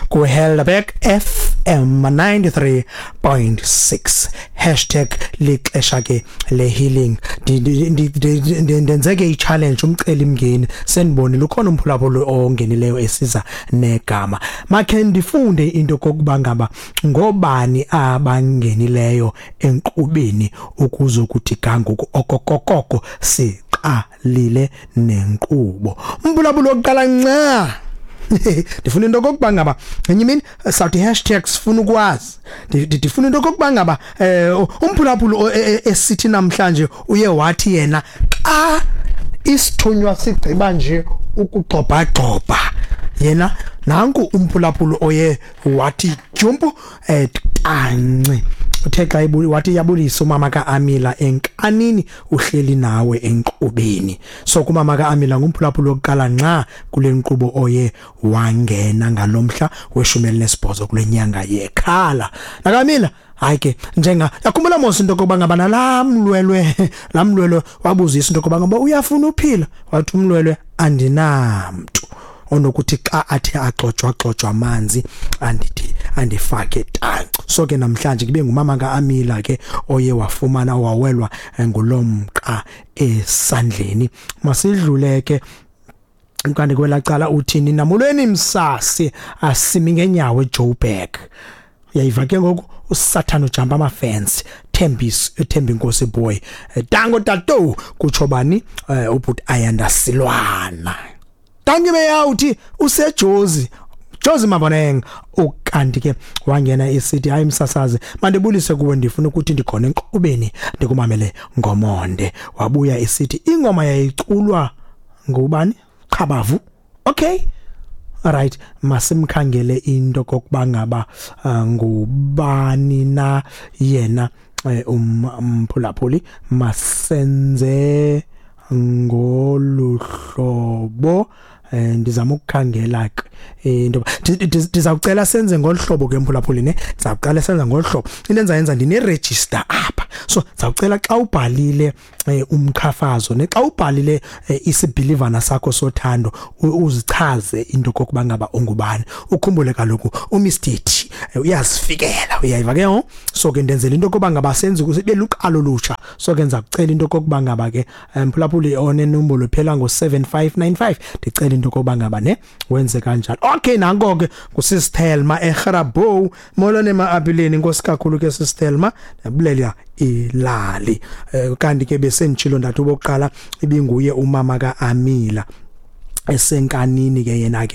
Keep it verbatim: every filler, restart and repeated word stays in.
Ku Helderberg F M ninety-three point six, hashtag lixesha ke le healing. Ndenzeke i-challenge, umceli mngeni. Senibonile ukhona umphulaphuli ongenileyo esiza negama. Makhe ndifunde into kokuba ngaba ngobani abangenileyo enkqubeni ukuzokuthi gangoku okokokoko siqalile nenkqubo. Umphulaphuli wokuqala nca, ndifuna into okokuba ngaba ngenye imini sawuthi hashtag sifuna ukwazi. Ndifuna into okokuba ngaba eh umphulaphuli esithi namhlanje uye wathi yena xa isithunywa sigqiba nje ukugxobhagxobha yena, nanku umphulaphuli oye wathi jumpu eh tanci. Uthe xa wathi yabulisa umama kaAmila enkanini, uhleli nawe enkqubeni. So kumama kaAmila ngumphulaphuli wokuqala nxa kule nkqubo oye wangena ngalomhla weshumi elinesibhozo kule nyanga yekhala nakaAmila. Hayi ke, njenga yakhumbula mos into kokuba ngaba nalamlwelwe lamlwelwe wabuzisa into kokuba ngaba uyafuna uphila, wathi umlwelwe andinamntu onokuthi xa athe axotshwa axotshwa amanzi andithi andifake tanci. So ke namhlanje kube ngumama kaAmila ke oye wafumana wawelwa ngulomqa esandleni. Masidlule ke kanti kwelacala. Uthini namulweni msasi, asimi ngenyawo eJoburg. Uyayiva ke ngoku, uSathane ujumpa amafence. Thembis Thembi Inkosi boy, dango tato, kutsho bani? Ubhuti Ayanda Silwana. Dankie beyawuthi usejozi Jozi Maboneng. Ukanti ke wangena isithi, hayi msasazi, mandibulise kuwe, ndifuna ukuthi ndikhona enkqubeni, ndikumamele ngomonde. Wabuya isithi ingoma yayiculwa ngubani? Qabavu. Okay, alright, masimkhangele into kokuba ngaba uh, ngubani na yena umphulaphuli. Masenze ngoluhlobo, eh ndizama ukukhangela ke into. Ndizawucela senze ngolhlobo ke mphulaphuli ne, ndizawuqala senze ngolhlobo. Into enzayenza, ndine register apha, so ndizawucela xa ubhalile umqhafazo ne, xa ubhalile isibhilivana sakho sothando, uzichaze into kokuba ngaba ungubani. Ukhumbule kaloku uMister T uyazifikela, uyayiva ke ho. So ke ndenzela into kokuba ngaba senze ukuze luqalo lutsha. So ke ndizakucela into kokuba ngaba ke mphulaphuli onenombolo phela ngo seven five nine five, ndicela into kokuba ngaba ne wenze kanjalo. Okay, nanko ke kusisithelma eGrabouw. Molo nema-apileni, inkosi kakhulu ke sisithelma, ndiyabulela ilali. Kanti ke besenditshilo ndathi obokuqala ibinguye umama kaAmila esenkanini ke yena ke.